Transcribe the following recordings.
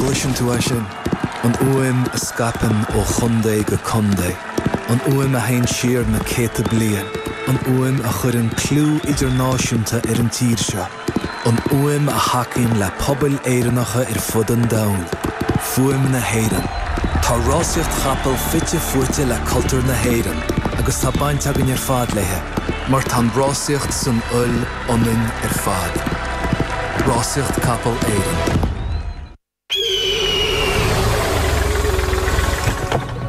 An gcloiseann tú é sin? An fhuaim a scaipeann ó chontae go contae. An fhuaim a théann siar na céadta bliain. An fhuaim a chuireann clú idirnáisiúnta ar an tír seo. An fhuaim a thacaíonn le pobail Éireannacha ar fud an domhain. Fuaim na hÉireann. Tá rásaíocht chapall fite fuaite le cultúr na hÉireann agus tá baint againn ar fad léi, mar tá an rásaíocht san fhuil ionainn ar fad. Rásaíocht Capall Éireann.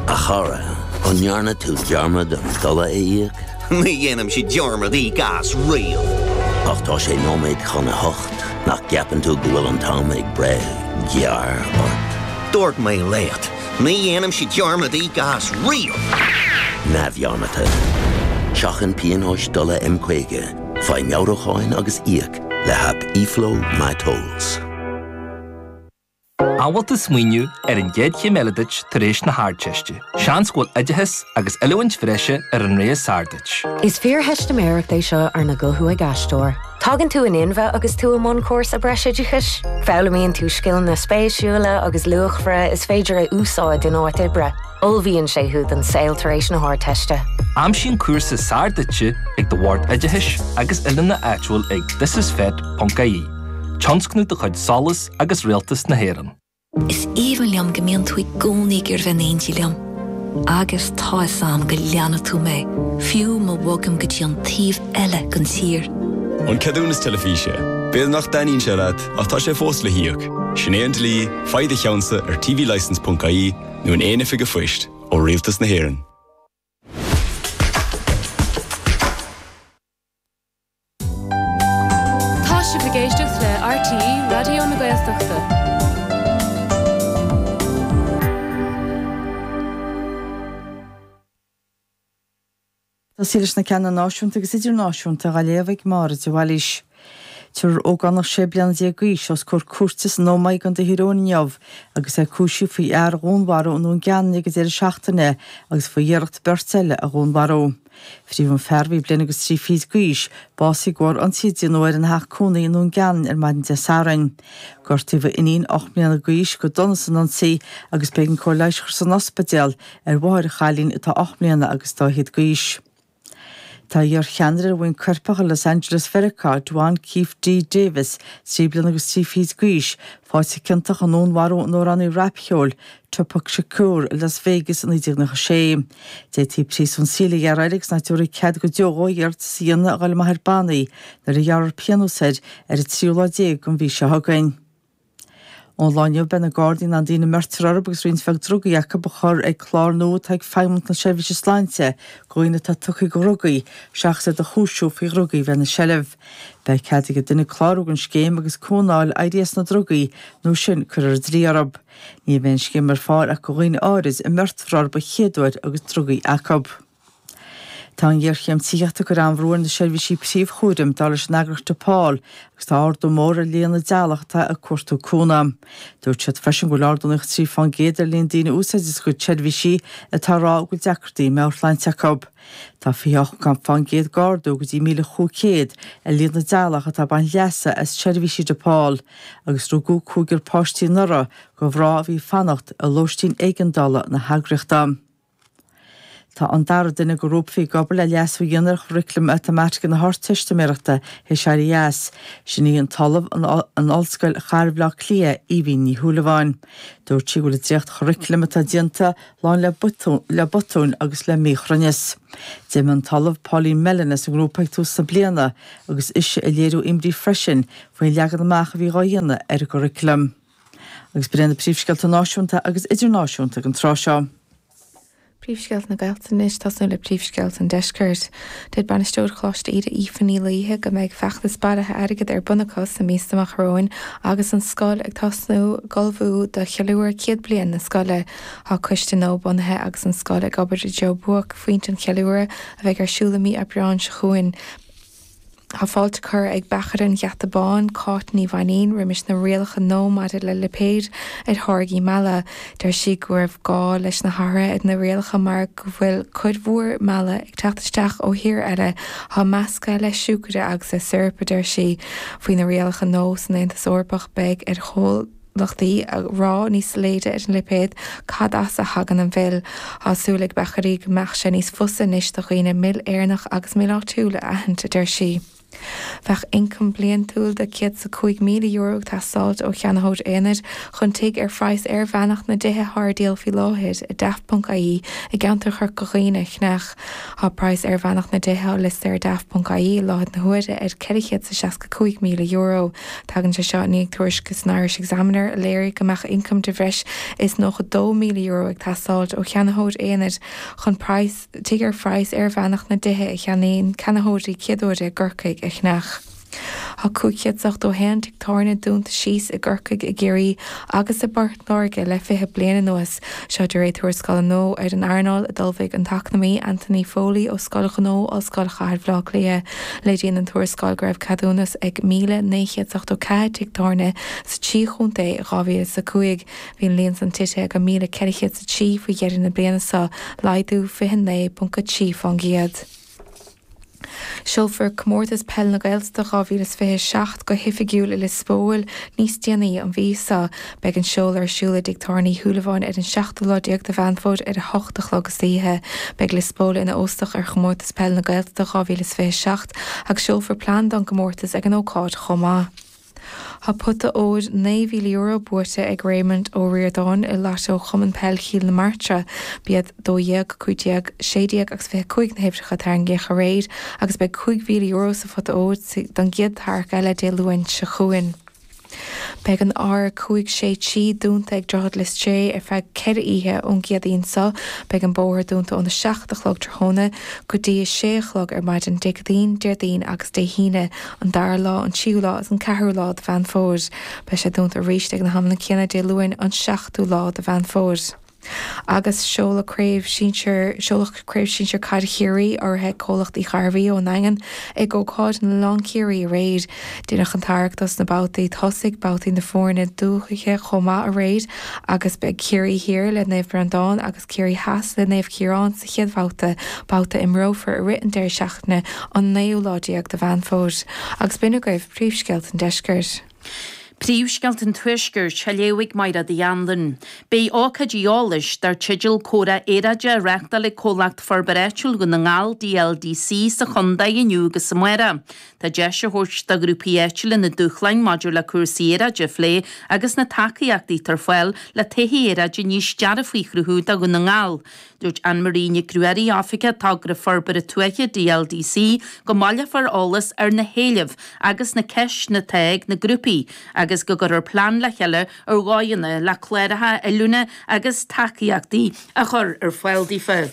A chara, an ndearna tú dearmad an dola a íoc? Ní dhéanaimse dearmad íoc as riamh. Ach tá sé nóiméad chun a hocht, nach gceapann tú go bhfuil an t-am ag breith gearr ort? Dúirt mé leat, ní dhéanaimse dearmad íoc as riamh! Neamhdhearmadta. Seachain pionóis dola M50, faigh meabhrúcháin agus íoc le haip eFlow MyTolls. An bhfuil tú ag smaoineamh ar an gcéad chéim eile duit tar éis na hArdteiste? Seans go bhfuil oideachas agus oiliúint bhreise ar an rogha is fearr duit. Is fíortheistiméireacht é seo arna guthú ag aisteoir. Tagann tú in inmhe agus tú i mbun cúrsa breisoideachais. Foghlaimíonn tú scileanna spéisiúla agus luachmhara is féidir a úsáid in áit oibre. Ullmhaíonn sé thú don saol tar éis na hArdteiste. Aimsigh an cúrsa is fearr duitse ag do Bhord Oideachais agus Oiliúna áitiúil ag thisisfet.ie. Tionscnamh de chuid SOLAS agus Rialtas na hÉireann. Is aoibhinn liom go mbíonn tú i gcónaí ag iarraidh bheith in éindí liom. Agus tá 'fhios a'm go leanfaidh tú mé, fiú má bhogaim go dtí an taobh eile den tír. An ceadúnas teilifíse. B'fhéidir nach dtaitníonn sé leat, ach tá sé fós le híoc. Sin é an dlí, faigh do cheannsa ar tvlicence.ie nó in aon oifig an phoist ó Rialtas na hÉireann. Tá sibh ag éisteacht le RTÉ Raidió na Gaeltachta. Tosaí leis na ceanna náisiúnta agus idirnáisiúnta á léamh ag Máire de Bhailís. Tabharfar ógánach 16 bliana d'aois os comhair cúirte san Ómaigh i gContae Thír Eoghain inniu agus é cúisithe faoi fhear a dhúnmharú i nDún Geanainn ag an deireadh seachtaine agus faoi iarracht beirt eile a dhúnmharú. Frítheadh an fear, a bhí bliain agus trí fichid d'aois, básaithe de bharr ionsaí a déanadh air ina theach cónaí i nDún Geanainn ar maidin Dé Sathairn. Gortaíodh a iníon, 8 mbliana d'aois, go dona san ionsaí agus b'éigean cóir leighis a chur san ospidéal ar mháthair an chailín atá 8 mbliana agus dá fhichead d'aois. Tá iar-cheannaire ar bhuíon coirpeach i Los Angeles Mheiriceá, Duane Keffe D Davis, 3 bliana agus 3 fichid d'aois, faighte ciontach i ndúnmharú an amhránaí rapcheoil, Tupac Shakur, i Las Vegas i 1996. D'fhéadfaí príosún saoil a ghearradh air agus nach dtabharfaí cead go deo dhó iarratas a dhéanamh a dhul amach ar bannaí nuair a ghearrfar pionós air ar an tríú lá déag den mhí seo chugainn. Ón lá inniu beidh na Gardaí in ann daoine a mbeirtear orthu agus roinnt bheag drugaí acu a chur ag clár nua atá ag Feidhmeannacht na Seirbhíse Sláinte do dhaoine atá tugtha do dhrugaí seachas iad a chúisiú faoi dhrugaí a bheith ina seilbh. Beidh cead ag duine clárú don scéim agus cúnamh a fháil éirí as na drugaí nó sin cuirfear an dlí orthu. Ní bheidh an scéim ar fáil ach do dhaoine áirid a mbeirtear orthu an chéad uair agus drugaí acu. Tá an ghéarchéim tithíochta ag cur an-bhrú ar na seirbhísí príomhchúraim, dar leis an eagraíocht DePaul, agus tá ardú mór ar líon na dteaghlach atá ag cuartú cúnamh. Dúirt siad freisin go bhfuil ardú 93% ar líon daoine a úsáideann a gcuid seirbhísí atá ag rá go bhfuil deacrachtaí meabhairshláinte acu. Tá 28% d'ardú go dtí 1,500 ar líon na dteaghlach atá ag baint leasa as seirbhísí DePaul, agus rugadh cúigear páistí anuraidh do mhná a bhí ag fanacht i lóistín éigeandála na heagraíochta. Tá an dara duine de ghrúpa a bhí ag obair le leasú a dhéanamh ar churaclam matamaitice na hArdteistiméireachta théis éirí as. Sin í an tOllamh in Ollscoil Chathair Bhaile Átha Cliath, Aoibhín Ní Shúilleabháin. Dúirt sí go bhfuil an dréacht-churaclam atá déanta lán le le botúin agus le míchruinneas. D'imigh an tOllamh Pauline Mellon as an ngrúpa ag tús na bliana agus ise ag léiriú imní freisin faoin leagan amach a bhí dhá dhéanamh ar an gcuraclam. Agus b'in iad na príomhscéalta náisiúnta agus idirnáisiúnta ag an tráth seo. Príomhscéalta na Gaeltachta anois, tosnú le príomhscéalta an Deiscirt. Deir Bainisteoir Choláiste Íde Aoife Ní Laoithe go mbeidh feachtas bailithe airgid ar bun acu sna míosa amach romhainn agus an scoil ag tosnú ag ullmhú do cheiliúradh 100 bliain na scoile. Tá coiste nua bunaithe agus an scoil ag obair i dtreo buaicphointe an cheiliúradh a bheidh ar siúl i mí Aibreáin seo chugainn. Tá fáilte curtha ag beachaire an Gheata Báin, Cáit Ní Mhainín, roimis na rialacha nua maidir le lipéid ar tháirgí meala. Deir sí go raibh gá leis na hathruithe ar na rialacha mar go bhfuil cuid mhór meala ag teacht isteach ó thíortha eile atá measctha le siúcaire agus le surap, a deir sí. Faoi na rialacha nua san Aontas Eorpach beidh ar. gnólachtaí a rá níos soiléire ar an lipéad cad as a thagann an mhil. Tá súil ag beachairí go mbeadh sé níos fusa anois do dhaoine mil Éireannach agus mil áitiúil a aithint, a deir sí. Bheadh ioncam bliantúil de €105,000 ag teastáilt ó cheannaitheoir aonair chun tigh ar phraghas airmheánach na dtithe atá ar díol faoi láthair ar Daft.ie i gceantar Chorca Dhuibhne a cheannach. Tá praghas airmheánach na dtithe atá liostaithe ar Daft.ie i láthair na huaire ar €465,000. Tagann sé seo i ndiaidh tuairisce san Irish Examiner a léirigh go mbeadh ioncam de bhreis is €92,000 ag teastáilt ó cheannaitheoir aonair chun praghas tigh ar phraghas airmheánach na dtithe a cheannaíonn ceannaitheoirí céaduaire i gCorcaigh a cheannach. Tá 581 tigh tábhairne dúnta síos i gCorcaigh, i gCiarraí agus i bPort Láirge le 20 bliain anuas. Seo de réir tuarascála nua ar an earnáil a d'ullmhaigh an t-eacnamaí Anthony Foley ó Scoil Ghnó Ollscoil Chathair Bhaile Átha Cliath. Léiríonn an tuarascáil go raibh ceadúnas ag 1,974 tigh tábhairne sa trí chontae i 2005. Bhí an líon san tite go 1,403 faoi dheireadh na bliana seo, laghdú 29.3%. Seolfar Comórtas Peile na Gaeltachta 2027 go hoifigiúil i Lios Póil níos déanaí an mhí seo. Beidh an seoladh ar siúl i dTigh Tábhairne Uí Shúilleabháin ar an seachtú lá déag de Mheán Fómhair ar a hocht a chlog istoíche. Beidh Lios Póil ina óstach ar Chomórtas Peile na Gaeltachta 2027 agus seolfar plean don gcomórtas ag an ócáid chomh maith. Tá pota óir €9,000 buaite ag Raymond Ó Ríordáin i Lotto Chumann Peil Chill na Martra. B'iad 12, 15, 16 agus 25 na huimhreacha a tarraingíodh aréir agus beidh €5,000 sa phota óir don gcéad tarrac eile Dé Luain seo chugainn. Beidh an R563 dúnta ag Droichead Lios Dé ar feadh 4 oíche ón gCéadaoin seo. Beidh an bóthar dúnta óna 7 a chlog tráthnóna go dtí a 6 a chlog ar maidin Dé Céadaoin, Déardaoin agus Dé hAoine. an dara lá, an tríú lá agus an ceathrú lá de Mheán Fómhair. Beidh sé dúnta arís ag na hamanna céanna Dé Luain, an seachtú lá de Mheán Fómhair. Agus seoladh Craobh Sinsir Seoladh Craobh Sinsir Caide Chiarraí, urraithe ag Comhlacht Uí Ghairbhí ón nDaingean, ag ócáid in Oileán Ciarraí aréir. Deineadh an tarrac dos na babhtaí tosaigh, babhtaí na foirne dúiche chomh maith aréir agus beidh Ciarraí Thiar le Naomh Breandán agus Ciarraí Theas le Naomh Ciarán sa chéad bhabhta, babhta a imreofar i rith an deireadh seachtaine an naoú lá déag de Mheán Fómhair. Agus b'in agaibh príomhscéalta an deiscirt. Príomhscéalta an Tuaiscirt á léamh ag Mairéad Uí Anluain. Beidh ócáid eolais dar teideal Comhrá Aeráide á reáchtáil ag Comhlacht Forbartha Áitiúil Dhún na nGall, DLDC, sa chontae inniu agus amárach. Tá deis á thabhairt do ghrúpaí áitiúla na dúshláin maidir le cúrsaí aeráide a phlé agus na tacaíochtaí atá ar fáil le todhchaí aeráide níos dearfaí a chruthú do Dhún na nGall. Dúirt Anne Marie Nic Ruairí, Oifigeach Togra Forbartha Tuaithe DLDC, go mbaileofar eolas ar na héilimh agus na ceisteanna atá ag na grúpaí agus go gcuirfear plean le chéile ar dhóigheanna le cláracha oiliúna agus tacaíochtaí a chur ar fáil daofa.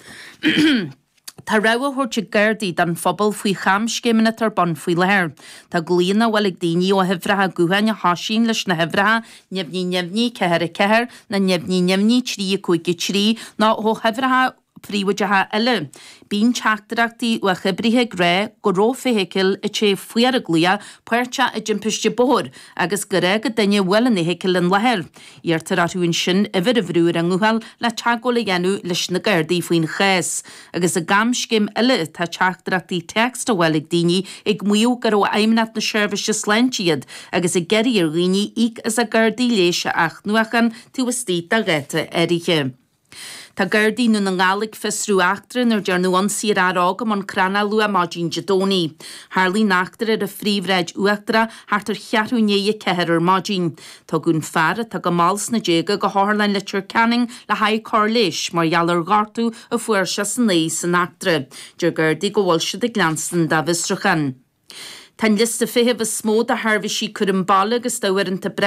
Tá rabhadh á thabhairt ag Gardaí don phobal faoi chamscéimeanna atá ar bun faoi láthair. Tá glaonna á bhfáil ag daoine ó huimhreacha gutháin a thosaíonn leis na huimhreacha neamhní neamhní 4 4 nó neamhní neamhní 3 5 3 nó ó huimhreacha príobháideacha eile. Bíonn teachtaireachtaí uathoibrithe ag rá go raibh feithicil a té faoi ar an glaoch páirteach i dtimpiste bóthair agus gur fhág an duine a bhuail an fheithicil an láthair. Iarrtar orthu ansin uimhir a bhrú ar a nguthán le teagmháil a dhéanamh leis na Gardaí faoin chás. Agus i gcamscéim eile tá teachtaireachtaí téacs á bhfáil ag daoine ag maíomh gur ó Fheidhmeannacht na Seirbhíse Sláinte iad agus ag iarraidh ar dhaoine íoc as a gcártaí leighis a athnuachan taobh istigh de dháta áirithe. Tá Gardaí i nDún na nGall ag fiosrú eachtra inar dearnadh ionsaí ar fhear óg i mBun Cranncha luath maidin Dé Domhnaigh. Tharlaigh an eachtra ar an Phríomhshráid Uachtarach thart ar cheathrú i ndiaidh a 4 ar maidin. Tugadh an fear, atá go mall sna déaga, go hOtharlann Leitir Ceanainn le haghaidh cóir leighis mar gheall ar ghortú a fuair sé san aghaidh san eachtra. Deir Gardaí go bhfuil siad ag leanstan dá bhfiosrúchán. Tá an liosta feithimh is mó do sheirbhísí cúram baile agus d'uaireanta breise.